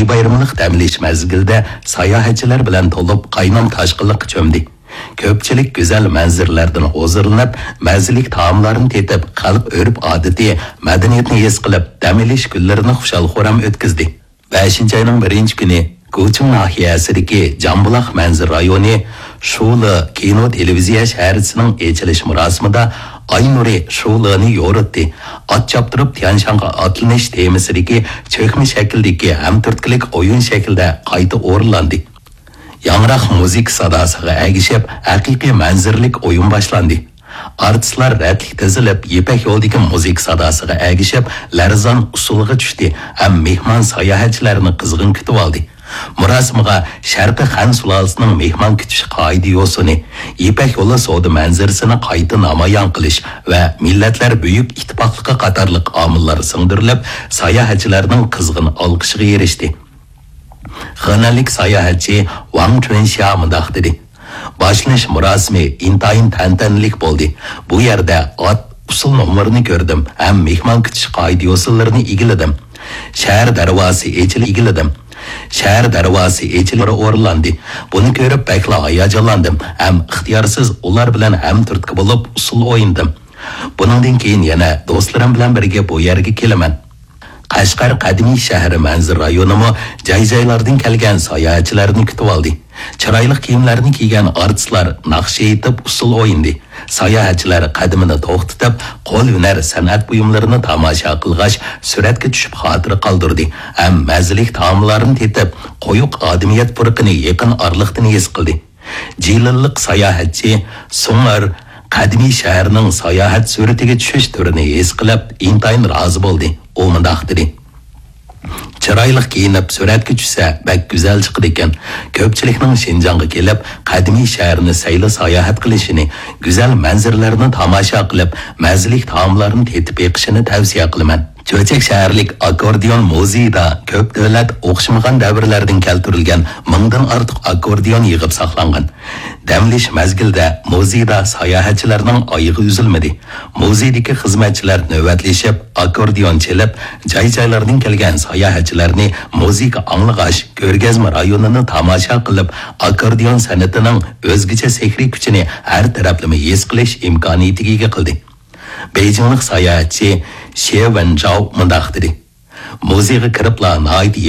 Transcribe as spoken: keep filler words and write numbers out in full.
بايرىملىق دەم ئېلىش مەزگىلىدە ساياھەتچىلەر بىلەن تولۇپ، قاينام تاشقىنلىققا چۆمدى. كۆپچىلىك گۈزەل مەنزىرىلەردىن ھۇزۇرلىنىپ، مەززىلىك تائاملارنى تېتىپ، خەلق ئۆرپ-ئادىتى، مەدەنىيىتىنى ھېس قىلىپ، دەم ئېلىش كۈنلىرىنى خۇشال-خۇرام ئۆتكۈزدى. بەشىنچى ئاينىڭ بىرىنچى كۈنى گۇچىڭ ناھىيەسىدىكى جامبۇلاق مەنزىرە رايونى شۇلې كىنو تېلېۋىزىيە شەھەرچىسىنىڭ ئېچىلىش مۇراسىمىدا ئاي نۇرى شۇلېنى يورۇتتى. ئات چاپتۇرۇپ تيانشانغا ئاتلىنىش تېمىسىدىكى چۆكمە شەكىلدىكى ھەم تۈرتكىلىك ئويۇن شەكلىدە قايتا ئورۇنلاندى. ياڭراق مۇزىكا ساداسىغا ئەگىشىپ، ھەقىقىي مەنزىرىلىك ئويۇن باشلاندى. ئارتىسلار رەتلىك تىزىلىپ، يىپەك يولىدىكى مۇزىكا ساداسىغا ئەگىشىپ، لەرزان ئۇسسۇلغا چۈشتى ھەم مېھمان ساياھەتچىلەرنى قىزغىن كۈتۈۋالدى. مۇراسىمغا شەرقىي خەن سۇلالىسىنىڭ مېھمان كۈتۈش قائىدە-يوسۇنى، يىپەك يولى سودا مەنزىرىسىنى قايتا نامايان قىلىش ۋە مىللەتلەر بۈيۈك ئىتتىپاقلىقى قاتارلىق ئامىللار سىڭدۈرۈلۈپ، ساياھەتچىلەرنىڭ قىزغىن ئالقىشىغا ئېرىشتى. خېنەنلىك ساياھەتچى ۋاڭ چۈەنشيا مۇنداق دېدى: باشلىنىش مۇراسىمى ئىنتايىن تەنتەنىلىك بولدى. بۇ يەردە ئات ئۇسسۇل نومۇرىنى كۆردۈم ھەم مېھمان كۈتۈش قائىدە-يوسۇنلىرىنى ئىگىلىدىم. شەھەر دەرۋازىسى ئېچىلىپ ئىگىلىدىم. شەھەر دەرۋازىسى ئېچىلىپ ئورۇنلاندى. بۇنى كۆرۈپ بەكلا ھاياجانلاندىم ھەم ئىختىيارسىز ئۇلار بىلەن ھەمتۈرتكە بولۇپ ئۇسسۇل ئوينىدىم. بۇنىڭدىن كېيىن يەنە دوستلىرىم بىلەن بىرگە بۇ يەرگە كېلىمەن. قەشقەر قەدىمىي شەھىرى مەنزىرە رايونىمۇ جاي-جايلاردىن كەلگەن ساياھەتچىلەرنى كۈتۈۋالدى. چىرايلىق كىيىملەرنى كىيگەن ئارتىسلار ناخشا ئېيتىپ ئۇسسۇل ئوينىدى. ساياھەتچىلەر قەدىمىنى توختىتىپ، قول ھۈنەر سەنئەت بۇيۇملىرىنى تاماشا قىلغاچ، سۈرەتكە چۈشۈپ خاتىرە قالدۇردى ھەم مەززىلىك تائاملارنى تېتىپ، قويۇق ئادىمىيەت پۇرىقىنى يېقىن ئارىلىقتىن ھېس قىلدى. جىلىنلىق ساياھەتچى سۇڭئېر قەدىمىي شەھەرنىڭ ساياھەت سۈرىتىگە چۈشۈش تۈرىنى ھېس قىلىپ، ئىنتايىن رازى بولدى. ئۇ مۇنداق دېدى: چىرايلىق كىيىنىپ سۈرەتكە چۈشسە، بەك گۈزەل چىقىدىكەن. كۆپچىلىكنىڭ شىنجاڭغا كېلىپ، قەدىمىي شەھەرنى سەيلە ساياھەت قىلىشىنى، گۈزەل مەنزىرىلەرنى تاماشا قىلىپ، مەززىلىك تائاملارنى تېتىپ بېقىشىنى تەۋسىيە قىلىمەن. چۆچەك شەھەرلىك ئاككوردىئون مۇزېيىدا كۆپ دۆلەت ئوخشىمىغان دەۋرلەردىن كەلتۈرۈلگەن مىڭدىن ئارتۇق ئاككوردىئون يىغىپ ساقلانغان. دەم ئېلىش مەزگىلىدە مۇزېيدا ساياھەتچىلەرنىڭ ئايىغى ئۈزۈلمىدى. مۇزېيدىكى خىزمەتچىلەر نۆۋەتلىشىپ، ئاككوردىئون چېلىپ، جاي-جايلاردىن كەلگەن ساياھەتچىلەرنى مۇزىكا ئاڭلىغاچ، كۆرگەزمە رايونىنى تاماشا قىلىپ، ئاككوردىئون سەنئىتىنىڭ ئۆزگىچە سېھرىي كۈچىنى ھەر تەرەپلىمە ھېس قىلىش ئىمكانىيىتىگە ئىگە قىلدى. بېيجىڭلىق ساياھەتچى شې ۋېنجاۋ مۇنداق دېدى: مۇزېيغا كىرىپلا ناھايىتى